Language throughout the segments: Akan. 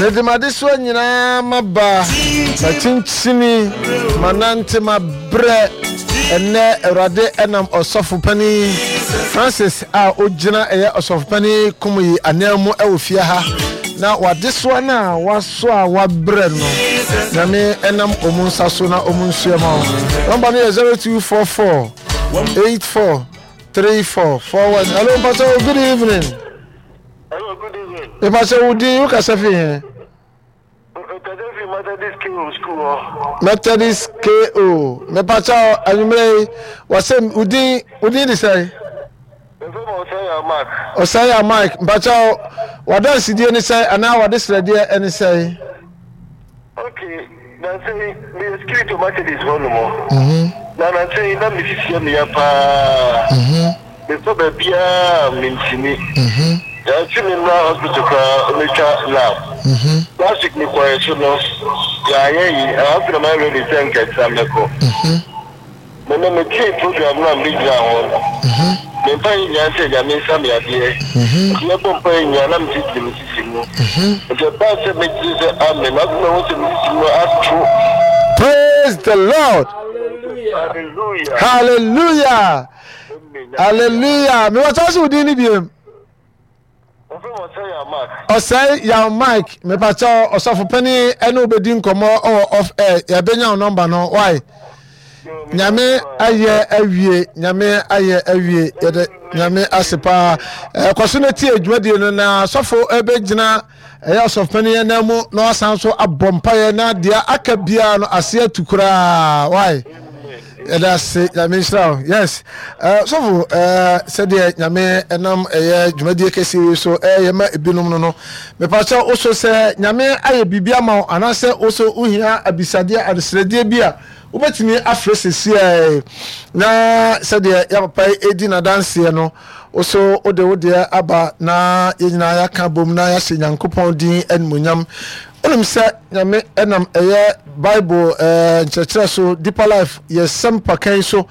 Mede m'adesoa nyinaa maba, makyinkyini, manante, mabrɛ. Ɛnnɛ Awurade ɛnam ɔsɔfo panin Francis a ogyina ɛyɛ ɔsɔfo panin Kumuyi anan mu ɛwɔ fie ha na wadesoa no a wasoa a wabrɛ no Nyame ɛnam ɔmu nsa so na ɔmu nsoɛ ma wo. Nɔmba no yɛ 0244 84 34 41. Hello, Pastor, good evening. Hello, good evening. Mepakyɛ wo din, wo kasa fi he? Mekasa fi Methodist KO school hɔ. Methodist KO. Mepakyɛ anwummerɛ yi, wɔsɛ wo din, wo din de sɛn? Mefrɛ me Ɔsɛe Mark. Ɔsɛe Mike, mepakyɛ w'adansedie ne sɛn anaa w'adesrɛdeɛ ne sɛn? Okay, nansa yi meyɛ security wɔ Methodist hɔ nom. Na nansa yi na me sisi yɛ me ya paa. Mekɔ baabiara a mentumi. Yɛantwe me mmra hospital koraa ɔmɛtwa lab. Last week mekɔɛ so no yɛanyɛ yi afei na mayɛ ready sɛ nka ɛkyena mɛkɔ. Me no metee program no a megyinaa hɔ no, me mpaeɛ nyinaa sɛ Nyame nsa me adeɛ. Nti yɛbɔ mpaeɛ nyinaa na mekyirikyiri me sisi mu. Nti ɛbaa sɛ megyee sɛ amen, afei mahu sɛ me sisi mu ato. Praise the Lord. Hallelujah. Hallelujah. Hallelujah. Me wɔ sɛ wo din ni biem. Ɔsɛe Yaw Mike mepakyɛw ɔsɔfo panin ɛne wo bɛdi nkɔmmɔ ɔwɔ off air yɛbɛnya wo nɔmba no why nyame ayɛ awie nyame ayɛ awie yɛde nyame ase paa ɛkɔ so no tie dwumadie no na sɔfo ɛbɛgyina ɛyɛ ɔsɔfo panin ɛnan mu na wasan so abɔ mpaeɛ na deɛ aka biara no ase atu koraa why Yɛda ase nyame nhyira wo yes uh, sɔfo uh, sɛdeɛ nyame ɛnam ɛyɛ dwumadie kɛseɛ wei so ɛyɛ eh, ma ebinom no no mepakyɛ wo so sɛ nyame ayɛ biribi ama wo anaasɛ wo so wohia abisadeɛ adesrɛdeɛ bi a wobɛtumi afrɛ sesiɛ na sɛdeɛ yɛpapa yi ɛdi n'adanseɛ no wo so wode wo deɛ aba na yɛn nyinaa yɛaka bom na yɛahyɛ nyankopɔn din animonyam Wonim sɛ Nyame nam ɛyɛ Bible nkyerɛkyerɛ so, Deeper Life, yɛ sɛmpa yi so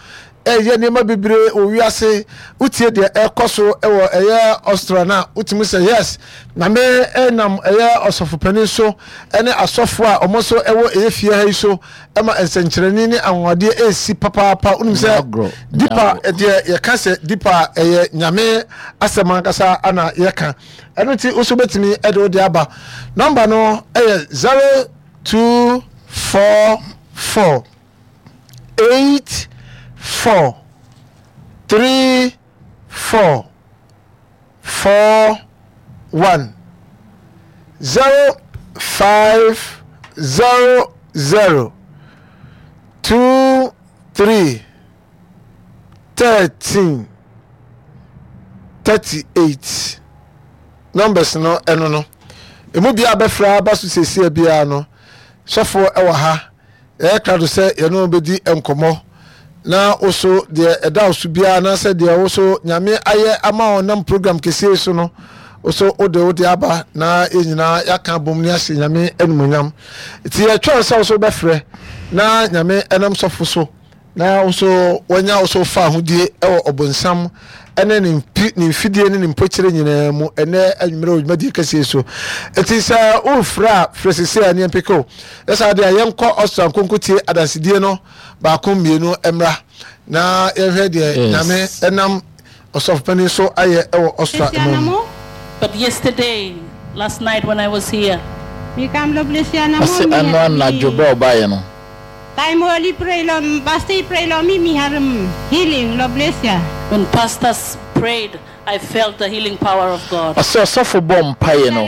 ɛyɛ nneɛma bebree wɔ wiase. Wotie deɛ ɛkɔ so wɔ ɛyɛ Austria no a, wotumi sɛ yes, Nyame nam ɛyɛ ɔsɔfopanin so ne asɔfoɔ a wɔn nso ɛwɔ ɛyɛ fie ha yi so ɛma nsɛnkyerɛnne ne anwanwadeɛ ɛresi papaapa. Wonim sɛ Deeper deɛ yɛka sɛ Deeper ɛyɛ Nyame asɛm ankasa ana yɛka. Ɛno nti wo nso wobɛtumi de wo deɛ aba. Nɔmba no yɛ 0244 84 34 41 05 00 23 13 38 numbers no ɛno no emu biara bɛfra aba so siesie biara no sɔfoɔ ɛwɔ ha ɛyɛ krado sɛ yɛne wɔn bɛdi nkɔmmɔ na woso deɛ ɛda wo so biara anaasɛ deɛ woso nyame ayɛ ama wɔn nam program kɛseɛ so no woso wode wode aba na yɛn nyinaa yɛaka abom ne ahyɛ nyame animuonyam nti yɛtwɛn sɛ woso bɛfrɛ na nyame ɛnam sɔfo so Na wo nso wanya wo so fahodie wɔ ɔbonsam ne ne mfidie ne ne mpokyerɛ nyinaa mu ɛnɛ anwummerɛ wɔ dwumadie kɛseɛ so. Nti sɛ worefrɛ a, frɛ sese a ne yɛmpeke wo. Yɛ saa deɛ a, yɛnkɔ Austria nkonkotie adansedie no baako mmienu mmra na yɛnhwɛ deɛ Nyame nam ɔsɔfopanin so ayɛ wɔ Austria man mu. But yesterday, last night when I was here. Ɔse ɛno anadwo berɛ a ɔbaeɛ no. When pastors prayed, I felt the healing power of God. Ɔse ɔsɔfo bɔɔ mpaeɛ no,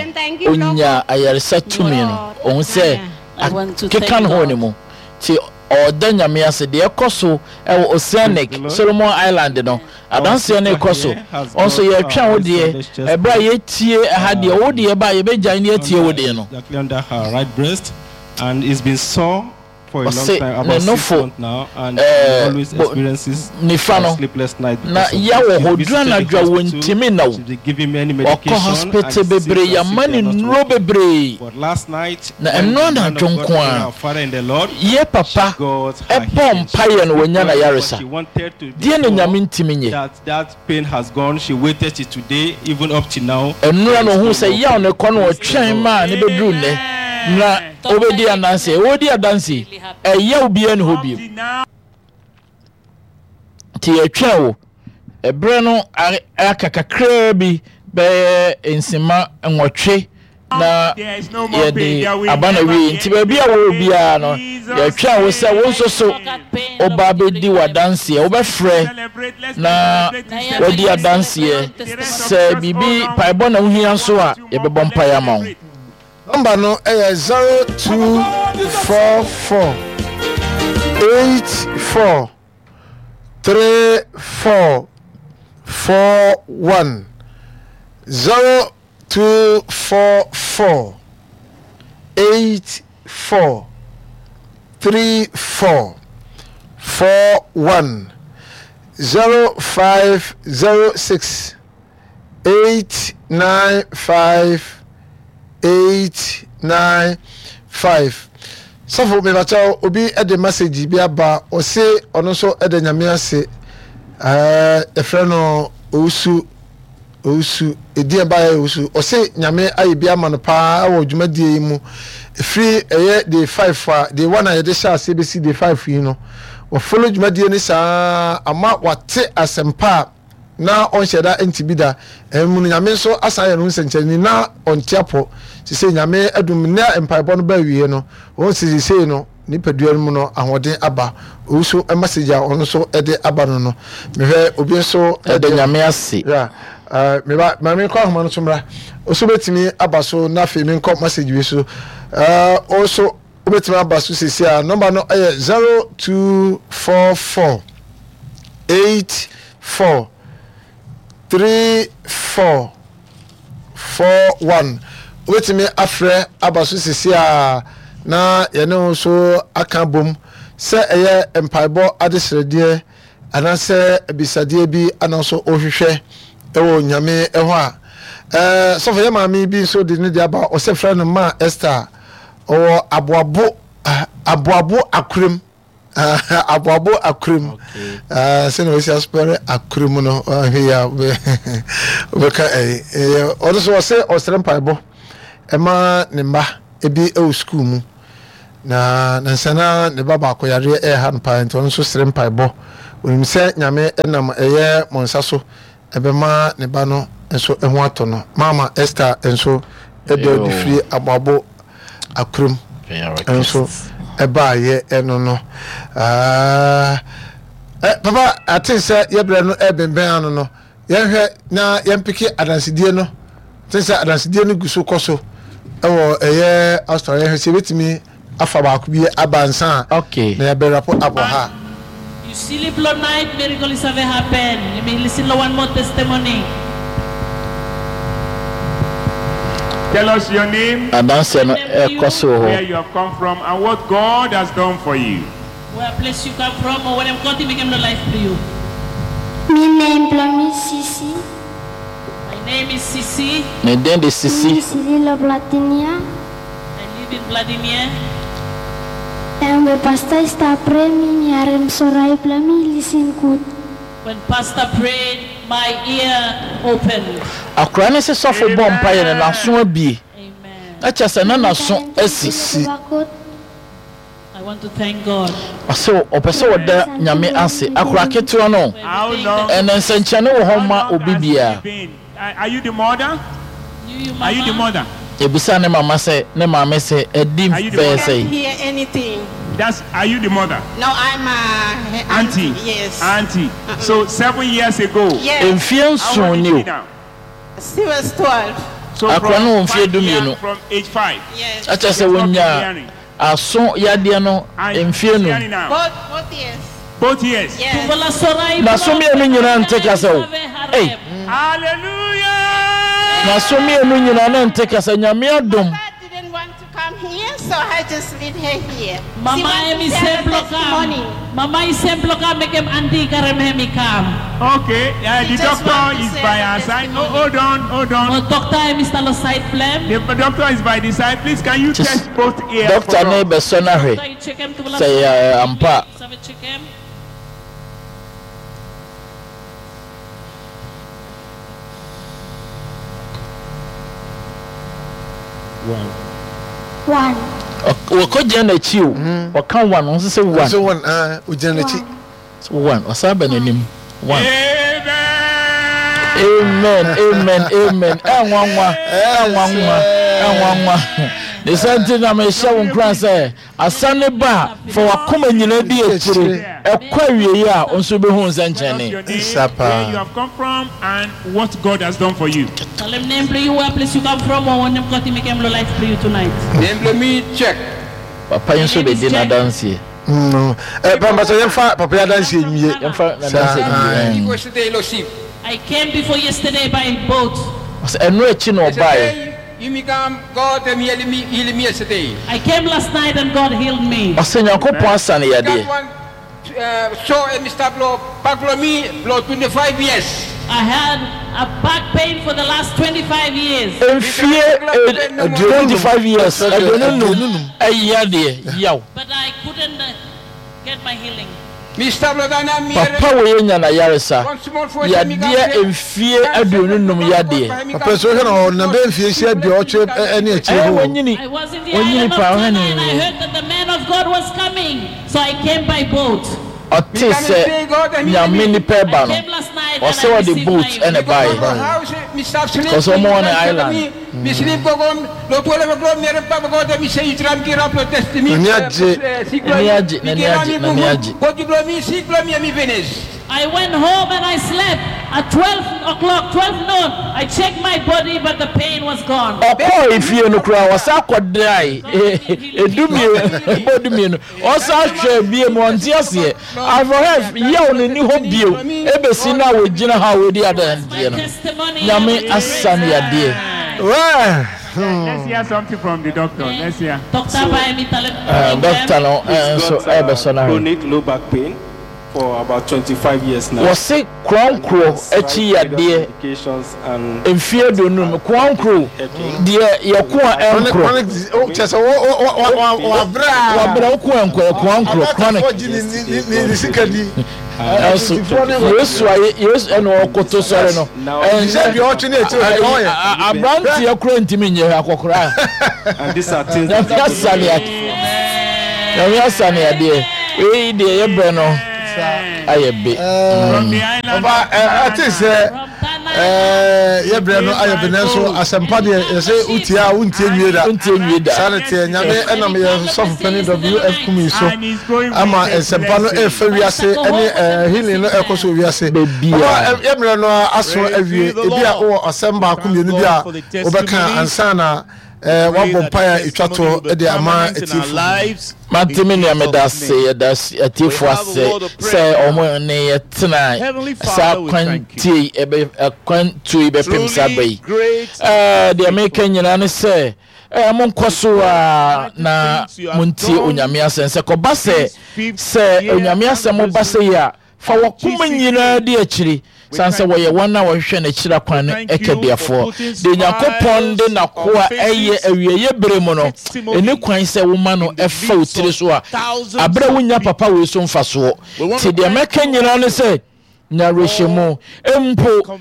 ɔnyaa ayaresa tumi no, ɔhu sɛ akeka ne ho wɔ ne mu, nti ɔɔda Nyame ase. Deɛ ɛkɔ so wɔ Oceanic, Solomon Island no, adanseɛ no rekɔ so. Wo nso yɛretwɛn wo deɛ, ɛberɛ a yɛtie ɛha deɛ, wo deɛ ba a yɛbɛgyae na yɛatie wo deɛ no. Exactly under her right breast and it's been sore. Ɔse ne nofo ɛɛ bo nifa no na ya wɔ hɔ duru anadwo a wɔntimi nna o. Wakɔ hospital bebree yama no nnuro bebree na ɛno anadwo nko ara yɛ papa bɔɔ mpaeɛ no wanya n'ayaresa. Deɛ na Nyame ntimi nyɛ? Pain has gone, she waited till today, even up till now. Nnora na ohuu sɛ yaw no rekɔ no ɔtwɛn maa no bɛduruu nnɛ na ɔbɛdi adanseɛ. Ɔredi adanseɛ yi, ɛyaw biara nni hɔ bio. Nti yɛtwɛn wo. Ɛberɛ no aka kakraa bi bɛyɛ nsema nwɔtwe na yɛde aba no awiei. Nti baabi a wowɔ biara no, yɛtwɛn wo sɛ wo nso so woba bɛdi w'adanseɛ. Wobɛfrɛ na wadi adanseɛ. Sɛ biribi paebɔ na wohia nso a, yɛbɛbɔ mpaeɛ ama wo. Nɔmba no yɛ 0244 84 34 41 0 244 84 34 41 0506 895 895 Sɔfo mebakyɛw obi de message bi aba ɔse ɔno nso da Nyame ase ɛɛ yɛfrɛ no Owusu Owusu, edin a ɛbaeɛ yɛ Owusu. Ɔse Nyame ayɛ bi ama no paa wɔ dwumadie yi mu. Ɛfiri ɛyɛ day 5 a, day 1 a yɛde hyɛ aseɛ bɛsi day 5 yi no, wafollow dwumadie no saa ama wate asɛmpa a na ɔnhyɛ da nte bi da. Ɛno mu no Nyame nso asan ayɛ ne ho nsɛnkyerɛnne na ɔnte apɔ. Sesei Nyame adum nnɛ a mpaebɔ no ba awieɛ no, wɔhu sɛ sesei no Nipadua no mu no ahoɔden aba. Obi nso message a ɔno nso de aba no no mehwɛ obi nso Yɛda Nyame ase. Yeah. Uh, meba ma menkɔ ahoma no so mmra. Oso betumi aba so na afei menkɔ message wei so. Uh, oso wobɛtumi aba so sisi a nɔmba no yɛ 0244 84 34 41 Wobɛtumi afrɛ aba so seesei ara na yɛne wo nso aka abom, sɛ ɛyɛ mpaebɔ adesrɛdeɛ anaasɛ abisadeɛ bi ana nso wohwehwɛ wɔ Nyame hɔ a. Ɛɛ, sɔfo, yɛ maame bi nso de ne deɛ aba, ɔsɛ frɛ no Ma Esther, ɔwɔ Aboabo, Aboabo Akorem. Aboabo akurim. Sɛnea wɔsi asopɛre akurim no, ahwɛ yi a wobɛka ɛyi. Ɔno nso ɔsɛ ɔsrɛ mpaebɔ ɛma ne mma ebi wɔ sukuu mu. Na nansa na ne ba baako yareɛ ɛreha no paa nti ɔno nso srɛ mpaebɔ. Onim sɛ Nyame nam ɛyɛ mo nsa so ɛbɛma ne ba no nso ho atɔ no. Maama Esther nso ɛde ɔde firi Aboabo Akurom nso ɛbaayɛ ɛno no. Ah, eh, papa ate sɛ yɛbrɛ no ɛbɛnbɛn ano no yɛnhwɛ na yɛmpeke adansedie no te sɛ adansedie no gu so kɔ so ɛwɔ ɛyɛ Australia yɛhwɛ sɛ yɛbɛtumi afa baako bi aba ansa a Okay. na yɛabɛ wrap up wɔ ha. You silly blow night miracle is have happen you may listen lo one more testimony. Tell us your name, Adanseɛ no ɛrekɔ so wɔ where hɔ. you have come from, and what God has done for you. Where place you come from or where them country make him no life to you. Mi name Blami Sisi. My name is Sisi. Ne din de Sisi. Mi Sililo Blatinia. I live in Vladimir. And the pastor sta pray mi mi arem sorai blami listen good. When pastor prayed my ear opened. Akwadaa no se sɔfo bɔ mpaeɛ no n'aso abue. Amen. Na kyerɛ sɛ na n'aso asi. Si. I want to thank God. Ɔse ɔpɛ sɛ ɔda Nyame ase. Akwadaa ketewa no How long? ɛnɛ nsɛnkyerɛnne wɔ hɔ How ma long obi has she biara. been? Are you the mother? You you Are you the mama. mother? Yɛbisaa ne mama sɛ ne maame sɛ adi Are you the bɛyɛ mother? sɛn? Hear anything. That's are you the mother? No, I'm a Auntie. auntie. Yes. Auntie. So 7 years ago. Yes. Mfeɛ How nson old is ni she o. now? She was 12. So Akwadaa no from wɔ mfeɛ 5 years, 12. from age 5. Yes. Na kyerɛ sɛ She has not been wɔnyaa hearing. aso yadeɛ no And mfeɛ she's num. hearing now. Both ears. Both ears. Yes. N'aso mmienu nyinaa nte kasa o. Ei! Hallelujah. N'aso mmienu nyinaa na nte kasa. Nyame adom. Mother didn't want to come here. here, so I just leave her here. She Mama wants to emi share her semplo kam. testimony. Mama i semplo kam mekem andi karem hemi kam. Okay, She the just doctor wants to is share by her our side. Oh, testimony. hold on, hold on. Mo doctor emi stalo side blem. The doctor is by the side. Please, can you Just- test both ears? Doctor for ne us? bɛsɔ no ahwɛ Doctor, you check him to sɛ ɛyɛ ampa a. Sabe check him. One. Wɔkɔgyina n'akyi o. Ɔka one, ɔno nso sɛ one. Nso one, ah, ogyina n'akyi. One, ɔsan ba n'anim. One. Amen. Amen, amen, amen. Ɛnwanwa, ɛnwanwa, ɛnwanwa. Ne sɛ nti na mehyɛ wo nkuran sɛ asa ne ba a fa wakoma nyinaa di akyire ɛkɔ awieeɛ a wo nso wobɛhu Tell us nsɛnkyerɛnne. your name, Sa paa. where you have come from, and what God has done for you. Tell him name play you where place you come from or when them got him make him life play you tonight. Name me check. Papa yi nso bɛdi n'adanseɛ. Papa sɛ yɛmfa papa yi adanseɛ nwie. Yɛmfa n'adanseɛ nwie. Yesterday, Losif. I came before yesterday by boat. Ɔsɛ ɛno akyi na ɔbaeɛ. You me come, God me heal me, heal me yesterday. I came last night and God healed me. Ɔsɛ Nyankopɔn asa no God yadeɛ. one saw a Mr. Blow, back blow me, blow 25 years. I had a back pain for the last 25 years. Mfie 25 years, 25 ɛyɛ adeɛ yaw. But I couldn't get my healing. Mr. Blow, then I'm Papa wei anya n'ayaresa yadeɛ mfie 25 yadeɛ. Papa so hwɛ na ɔnam bɛyɛ mfie hyia 80 ɛne akyire Ɛyɛ hɔ. wanyini I was in the wanyini island of paa ɔhwɛ Tanna ne and I heard that the man of God was coming. So I came by boat. Ɔte sɛ Nyame nipa ɛba I no came last night and ɔsɛ I ɔde received boat my ɛna ɛbaeɛ. Because Because ɔmo wɔ ne island. Me sleep go on, lo 12 o'clock, me papa go me say you try me rap test me. N'ani agye. N'ani agye, n'ani agye, n'ani agye. Go to blow me, see blow me, me finish. I went home and I slept at 12 o'clock, 12 noon. I checked my body, but the pain was gone. Ɔkɔɔ efie no koraa ɔsan kɔdae 12 ɛbɔ 12 ɔsan hwɛ bie mu ɔnte aseɛ afɔhɛ yaw no ni hɔ bio ebesi na wɔgyina ha a wɔdi adanseɛ no Testimony. Nyame asa no yadeɛ. Well, Let's hear something from the doctor. Let's hear. Doctor by me tell him. Doctor no He's nso got ɛbɛsɔ no ahwɛ. chronic low back pain for about 25 years now. Wɔse korɔnkorɔ akyi yadeɛ Medications and mfie 25 korɔnkorɔ deɛ yɛko a chronic ɛnkorɔ chronic disease oh kyɛ sɛ wo wo wo wo wabrɛ a. wabrɛ wo ko ɛnkɔ yɛ korɔnkorɔ chronic. Abaatafoɔ gye ne ne ne ne sika di. Ɛnso Yesu ayɛ Yesu ɛna ɔkoto sɔre no Sɛ deɛ ɔtwe ne akyire hɔ deɛ ɔyɛ. Aberanteɛ kora ntumi nyɛ akɔkora. and these are things Nyame that asa ne adeɛ. Nyame asa ne adeɛ. Wei deɛ yɛbrɛ no ayɛ be. From the island Ɔba of ɛ ɛte sɛ From Tanna. ɛɛ yɛbrɛ no ayɛ be nanso asɛmpa deɛ yɛsɛ wotie a wontie nwie da. Wontie nwie da. Saa ne teɛ Nyame ɛnam yɛn sɔfo panin WF Kumi so And he's going ama with a nsɛmpa no blessing. ɛfa wiase ɛne ɛɛ healing no ɛkɔ so wɔ wiase. Baabiara. Ɔba ɛ yɛmmerɛ no aso awie ebi a wowɔ asɛm baako mmienu bi a wobɛka ansa na ɛɛ wabɔ mpaeɛ a ɛtwa toɔ de ama atiefo. Mate me nua meda ase yɛda atiefo ase sɛ ɔmo ne yɛtena saa kwantie yi ɛbɛ akwantuo yi bɛpem saa ba yi. Ɛɛ deɛ meka nyinaa ne sɛ ɛɛ monkɔ so a na montie Onyame asɛm sɛ kɔba sɛ sɛ Onyame asɛm ba sɛ yi a fa wakoma nyinaa di akyiri san sɛ wɔyɛ wɔn a wɔhwehwɛ n'akyiri akwan no ɛkɛdeɛfoɔ deɛ Nyankopɔn de n'akoa ɛyɛ awieeɛ bere mu no ɛni kwan sɛ woma no ɛfa wo tiri so a aberɛ a wonya papa wei so mfasoɔ nti deɛ mɛka nyinaa ne sɛ nya awerɛhyɛmu mpo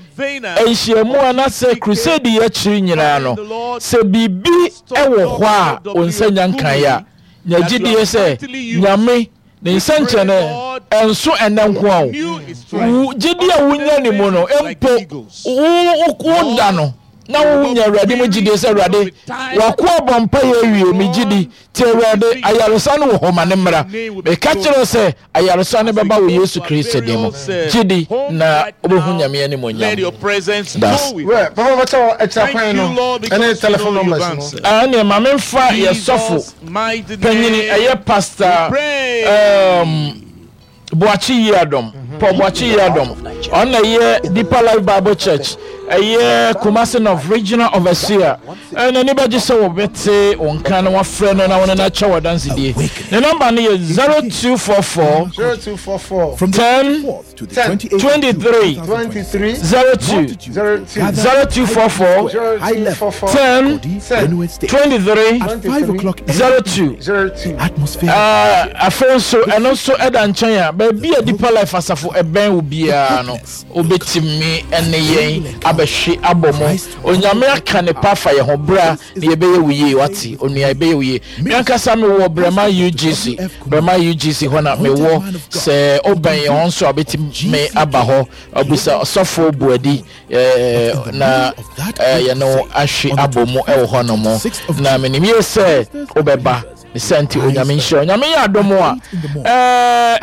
nhyiamu anaasɛ crusade yi akyiri nyinaa no sɛ biribi ɛwɔ hɔ a wo nsa nya nkaeɛ a nya gyidie sɛ Nyame ne nsɛnkyerɛnne ɛnso ɛnɛ nko a wo gyidie a wonya ne mu no mpo wo da no na wonya Awurade mu gyidie sɛ Awurade wako abɔ mpa yɛ awie me gyidi nti Awurade ayaresa no wɔ hɔ ma ne mmra meka kyerɛ sɛ ayaresa no bɛba wɔ Yesu Kristo din mu gyidi na wobɛhu Nyame animuonyam. Das. Well, papa bɛkyɛ wɔ akyira kwan no ɛne telephone numbers no. Ɛneɛ ma memfa yɛ sɔfo panyini ɛyɛ Pastor Boakye Yiadom, Paul Boakye Yiadom, ɔno na ɛyɛ Deeper Life Bible Church. ɛyɛ Kumasi North Regional Overseer. N'ani bɛgye sɛ wɔbɛte wo nka na wafrɛ no na wo ne no akyɛ w'adansedie. Ne nɔmba no yɛ 0244 0244 10 10 23 23 02 02 0244 0244 10 10 23 23 02. 02. Afei nso ɛno nso ɛda nkyɛn a baabi a Deeper Life asafo ɛbɛn wo biara no wobɛtumi ne yɛn abɛhwe abɔ mu. Onyame aka ne pa afa yɛn ho bra na yɛbɛyɛ wo yie wate onua yɛbɛyɛ wo yie. Me ankasa mewɔ Brɛma UGC Brɛma UGC hɔ na mewɔ sɛ wobɛn yɛn hɔ nso a wobɛtumi aba hɔ abusa ɔsɔfo Boadi na yɛne wo ahwe abɔ mu wɔ hɔ nom na menim yie sɛ wobɛba. Ne saa nti Onyame nhyira. Onyame yɛ adom a,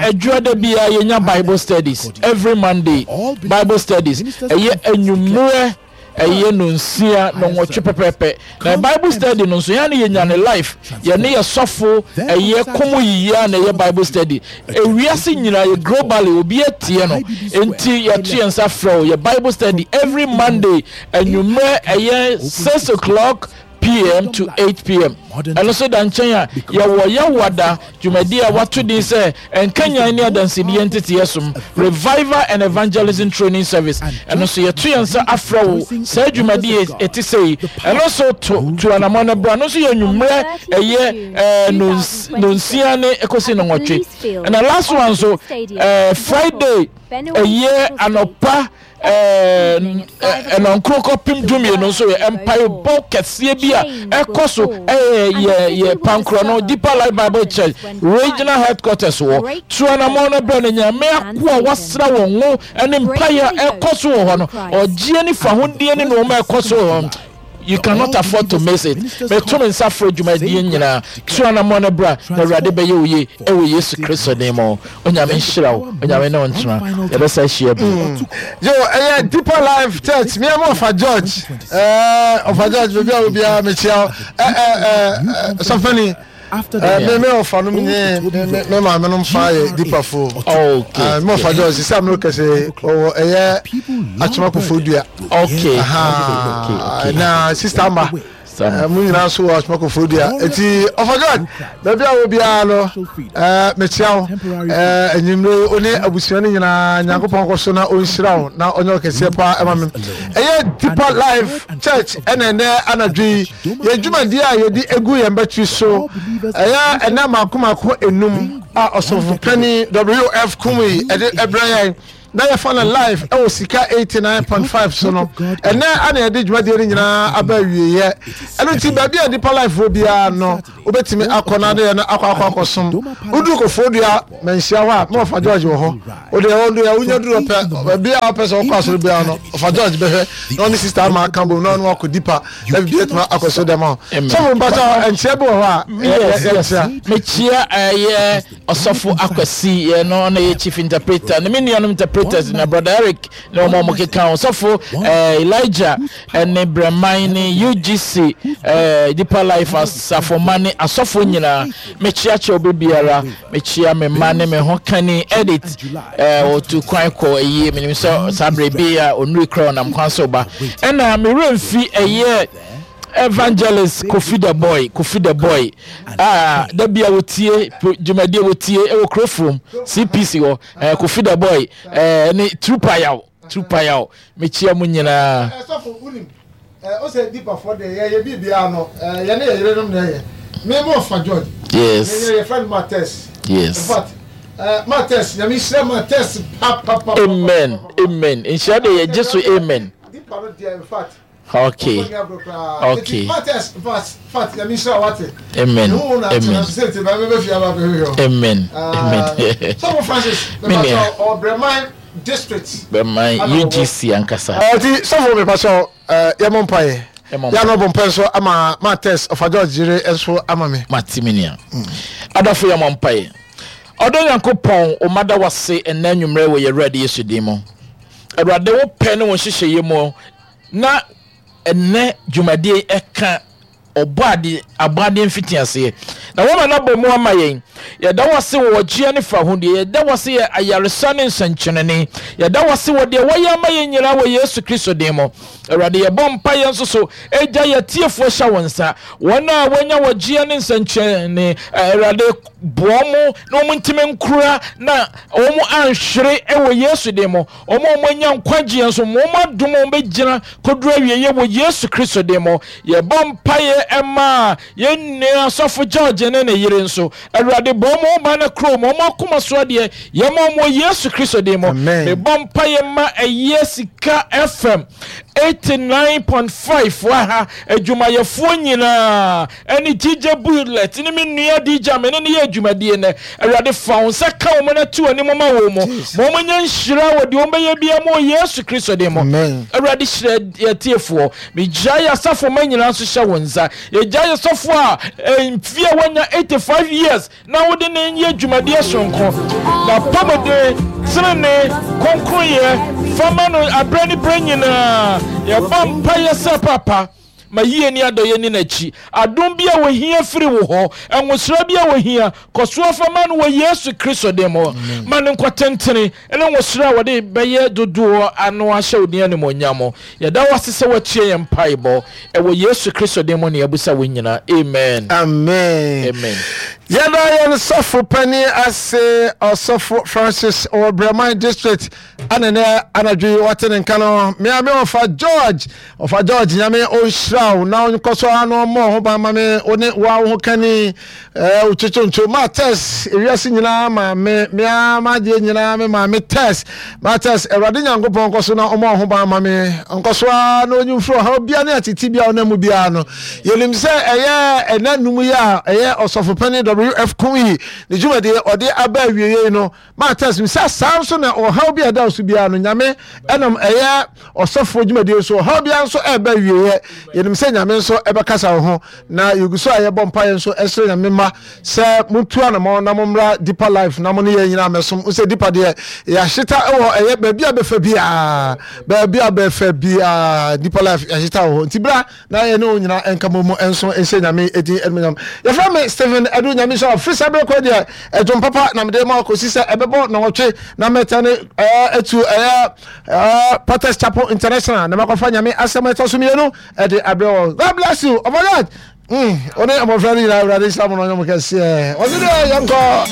ɛɛ da biara yɛnya Bible studies every Monday. Bible studies ɛyɛ anwummerɛ ɛyɛ nonsia nɔnwɔtwe pɛpɛpɛ. Na Bible study no nso yɛn ne yɛnya ne life yɛne yɛ sɔfo ɛyɛ kɔmɔ yiyi a na ɛyɛ Bible study. Ewiase nyinaa yɛ globally obi atie no nti yɛto yɛn nsa frɛ wo yɛ Bible study every Monday anwummerɛ ɛyɛ 6 o'clock pm to 8 pm. Ɛno nso da nkyɛn a, yɛwɔ Yawada dwumadi a wɔato din sɛ Nkanyan ne Adansedie Nteteeɛ Som, Revival and Evangelism Training Service. Ɛno nso yɛto yɛn nsa afrɛ wo saa dwumadi a ɛte sɛ yi. Ɛno nso to tu anammɔn no bra. Ɛno nso yɛ anwummerɛ ɛyɛ ɛɛ nonsia ne ɛkɔsi nonwɔtwe. Ɛna last one nso ɛɛ Friday ɛyɛ anɔpa ɛnɔnkoro kɔpem dumienu nso yɛ mpaebɔ kɛseɛ bi a ɛkɔ so ɛyɛ yɛ yɛ pankorɔ no Deeper Life Bible Church regional headquarters wɔ tuanamɔ no brɛ no Nyame akoa wasra wɔn ngo ɛne mpaeɛ a ɛkɔ so wɔ hɔ no ɔgyeɛ ne fahodie ne nneɛma ɛkɔ so wɔ hɔ. You cannot afford to miss it. Meto me nsa frɛ dwumadie nyinaa. Tu anammɔn no bra na Awurade bɛyɛ wo yie ɛwɔ Yesu Kristo din mu. Onyame nhyira wo. Onyame ne wo ntena. Yɛbɛsa ahyia bio. Yo, ɛyɛ Deeper Life Church. Me ama Ɔfa George. Ɛɛ Ɔfa George, baabi a wo biara mekyia wo. Ɛ ɛ ɛ sɔfani. Me me ɔfa nom nye me me maame nom fa yɛ dipafo. Okay. Me ɔfa George sisi amino kɛse ɔwɔ ɛyɛ atwema kofo dua. Okay. Okay. Na sister ama mo nyinaa nso wɔ atwema kofo dua. Eti ɔfa George baabi a wɔ biara no mekyia wo enyimire wo ne abusua no nyinaa Nyankopɔn kɔ so na ɔnhyira wo na ɔnyɛ ɔkɛseɛ paa ɛma me. Ɛyɛ Deeper Life Church ɛna ɛnɛ anadwo yi Yɛn dwumadi a yɛde egu yɛn batiri so ɛyɛ ɛnna mako mako enum a ɔsɔfo panyin WF Kumuyi ɛde ɛbrɛ yɛn na yɛfa no live ɛwɔ Sika 89.5 so no ɛnɛ ana yɛde dwumadie no nyinaa aba awieɛ. Ɛno nti baabi a nipa live wɔ biara no wobɛtumi akɔ na ne yɛ no akɔ akɔ akɔsom. Woduru Koforidua manhyia hɔ a na ɔfa George wɔ hɔ. Wode ɛhɔ no wonya duru pɛ baabi a wopɛ sɛ wokɔ asɔre biara no ɔfa George bɛhwɛ na ɔne sister ama aka bom na ɔne wakɔ dipa na biribi atumi akɔ so dɛm a sɔfo mpakyɛ nkyia bi wɔ hɔ a yɛkyia. Mekyia ɛyɛ ɔsɔfo Akwasi yɛ no ɔna yɛ chief interpreter ne me nuanom interpreters na brother Eric ne wɔn a wɔkeka ho sɔfo Elijah ne Brɛman ne UGC Deeper Life asafo ma ne asɔfo nyinaa mekyia kyɛ obi biara mekyia me mma ne me ho kani edit wɔtu kwan kɔ ayie menim sɛ saa berɛ bi a ɔnuri kora ɔnam kwan so ba ɛna me werɛ mfi ɛyɛ evangelist Kofi the boy Kofi the boy a da bi a wɔtie dwumadie wɔtie ɛwɔ kurofurom CPC hɔ Kofi the boy ne Trupayaw Trupayaw mekyia mu nyinaa. Sɔfo wonim ɔsɛ dipafoɔ deɛ yɛyɛ biribiara no yɛne yɛ yerenom na ɛyɛ me mo ɔfa George. Yes. Yɛ yɛfrɛ no Mates. Yes. In fact Mates nyame nhyira Mates pa pa pa. Amen amen nhyira deɛ yɛgye so amen. Dipa no deɛ in fact. Okay. Okay. Amen. Amen. Amen. Amen. Sɔfo Francis, Menua. Ɔbrɛman district. Brɛman UGC ankasa. Ɔti sɔfo mi pasɔ yɛ mɔ mpa yɛ. Yɛ anɔ bɔ mpa nso ama ma test ɔfa George yere nso ama mi. Ma ti mi nia. Adɔfo yɛ mɔ mpa yɛ. Ɔdɔ Nyankopɔn, o mada wase ɛnɛ anwummerɛ wɔ yɛ Awurade Yesu din mu. Awurade wo pɛ ne wo nhyehyɛeɛ mu na ɛnɛ dwumadie ɛka. Ɔbɔ ade, abɔadeɛ mfitiaseɛ. Na woama no abɔ mu ama yɛn. Yɛda wo ase wɔ ɔgyeɛ ne fahodie. Yɛda wo ase yɛ ayaresa ne nsɛnkyerɛnne. Yɛda wo ase wɔ deɛ woayɛ ama yɛn nyinaa wɔ Yesu Kristo din mu. Awurade, yɛbɔ mpaeɛ nso so gya yɛn atiefoɔ hyɛ wo nsa. Wɔn a wɔanya ɔgyeɛ ne nsɛnkyerɛnne, Awurade, boa wɔn na wɔn ntumi nkora na wɔn anhwere wɔ Yesu din mu. Wɔn a wɔanya nkwagyeɛ nso, ma wɔn adom a wɔbɛgyina kɔduru awieeɛ wɔ Yesu Kristo din mu. Yɛbɔ mpaeɛ ma yɛn nua Sɔfo George ne ne yere nso. Awurade, bɔ wɔn ho ban na kura wɔn akoma so adeɛ. Yɛma wɔn wɔ Yesu Kristo din mu. Mebɔ mpaeɛ ma Ɛyɛ Sika FM 89.5 wɔ ha adwumayɛfoɔ nyinaa ɛne DJ Bullet ne me nua DJ a me ne no yɛ adwumadie nnɛ. Awurade fa wo nsa ka wɔn na tu anim ma wɔn mu. Ma wɔn nyɛ nhyira wɔ deɛ wɔn bɛyɛ biara mu wɔ Yesu Kristo din mu. Awurade hyira atiefoɔ. Megyae yɛn asafo mma nyinaa nso hyɛ wo nsa. Yɛgyae yɛn sɔfo a mfeɛ a wanya 85 years na wode ne yɛ dwumadie soronko. N'apɔmuden, tenenee, kronkronyɛ, fa ma no aberɛ ne berɛ nyinaa. Yɛbɔ mpaeɛ sɛ Papa, ma yie ne adɔeɛ nni n'akyi. Adom bi a wɔhia firi wo hɔ, nwosra bi a wɔhia, kɔ so ara fa ma no wɔ Yesu Kristo din mu. Ma no nkwa tentene ne nwosra a wɔde bɛyɛ dodoɔ ano ahyɛ wo din animuonyam. Yɛda wo ase sɛ woatie yɛn mpaebɔ. Ɛwɔ Yesu Kristo din mu na yɛabisa wei nyinaa. Amen. Amen. Amen. Yɛda yɛn sɔfo panin ase, Ɔsɔfo Francis wɔ Brɛman District. Ɛna nɛ anadwo yi wɔte ne nka no mea me ɔfa George ɔfa George nyame ɔnhyira wo na ɔnkɔ so ara na ɔmmɔ ho ban ma me wo ne wo a wo ho kani ɛɛ wo kyekyonto ma test ewiase nyinaa ma me mea m'adeɛ nyinaa me maame test ma test awurade nyankopɔn nkɔ so na ɔmmɔ ho ban ma me ɔnkɔ so ara na ɔnyi mfiri ɔhaw bia ne atete bia ɔnam mu biara no yɛnim sɛ ɛyɛ ɛna num yi a ɛyɛ ɔsɔfo panin WF Kumuyi ne dwumadie ɔde aba awieɛ yi no Matthias nim sɛ saa nso na ɔhaw bi a ɛda so biara no Nyame ɛnam ɛyɛ ɔsɔfoɔ dwumadie so ɔhaw biara nso ɛreba awieɛ. Yɛnim sɛ Nyame nso ɛbɛkasa wo ho na yɛgu so a yɛbɔ mpaeɛ nso ɛsrɛ Nyame mma sɛ montu anamɔn na mommra Deeper Life na mo ne yɛn nyinaa mmɛsom. Wo sɛ Deeper deɛ yɛahyeta wɔ ɛyɛ baabi a bɛfa biara, baabi a bɛfa biara Deeper Life yɛahyeta wɔ hɔ. Nti bra na yɛne wo nyinaa nka mmɔ mu nso nhyɛ Nyame edin animuonyam. Yɛfrɛ me Stephen Adu Nyame nhyira wo. Firi saa berɛ kɔ deɛ ɛdwom papa na mede ma kɔsi sɛ ɛbɛbɔ nnɔnwɔtwe na mɛtɛne ɛɛ atu ɛyɛ ɛɛ Potter's Chapel International na makɔfa Nyame asɛm ɛtɔ so mmienu ɛde abrɛ wɔn. God bless you. Ɔbɔ God. Mm, wo ne mmɔfra no nyinaa Awurade nhyira mo na ɔnyɛ mo kɛseɛ. Ɔse deɛ yɛnkɔ.